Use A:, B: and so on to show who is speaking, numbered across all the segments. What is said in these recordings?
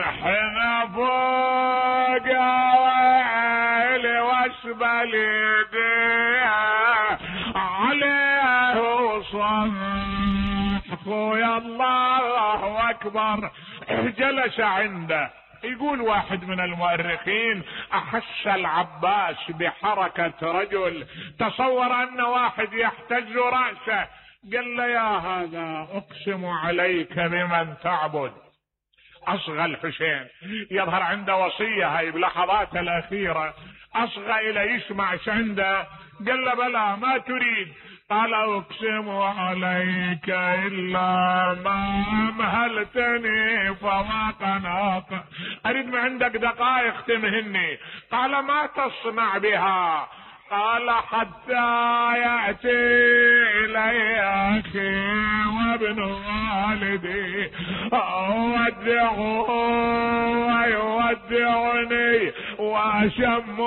A: حين فوق ويلي واسبل يديه عليه وصح خويا الله اكبر. جلس عنده. يقول واحد من المؤرخين احس العباس بحركة رجل، تصور ان واحد يحتز رأسه، قال له يا هذا اقسم عليك بمن تعبد. اصغى الحسين، يظهر عنده وصية هاي بلحظات الاخيرة، اصغى الى يسمع ايش عنده. قال له بلى ما تريد؟ قال اقسم عليك الا ما مهلتني فما قناق، اريد من عندك دقائق تمهني. قال ما تصنع بها؟ قال حتى يأتي إلي أخي وابن والدي أودعه ويودعني وأشم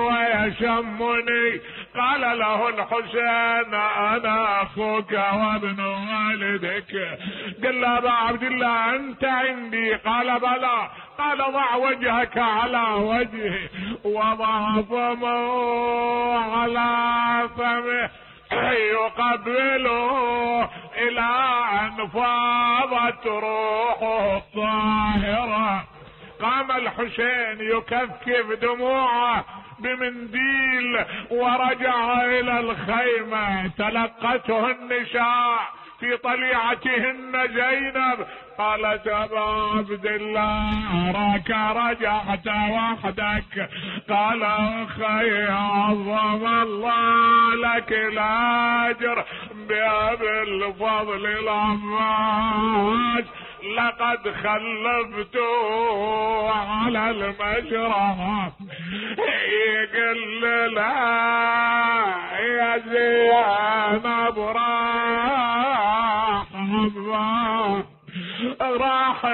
A: ويشمني. قال له الحسين انا اخوك وابن والدك. قال له ابا عبد الله انت عندي؟ قال بلى. قال ضع وجهك على وجهي وضع فمه على فمه يقبله الى ان فاضت روحه الطاهرة. قام الحسين يكفكف دموعه بمنديل ورجع الى الخيمة. تلقته النساء في طليعتهن زينب، قالت ابا عبد الله اراك رجعت وحدك. قال اخي عظم الله لك الاجر بابي الفضل العباس، لقد خلفته على المشرع. يقول لا يا زينب راح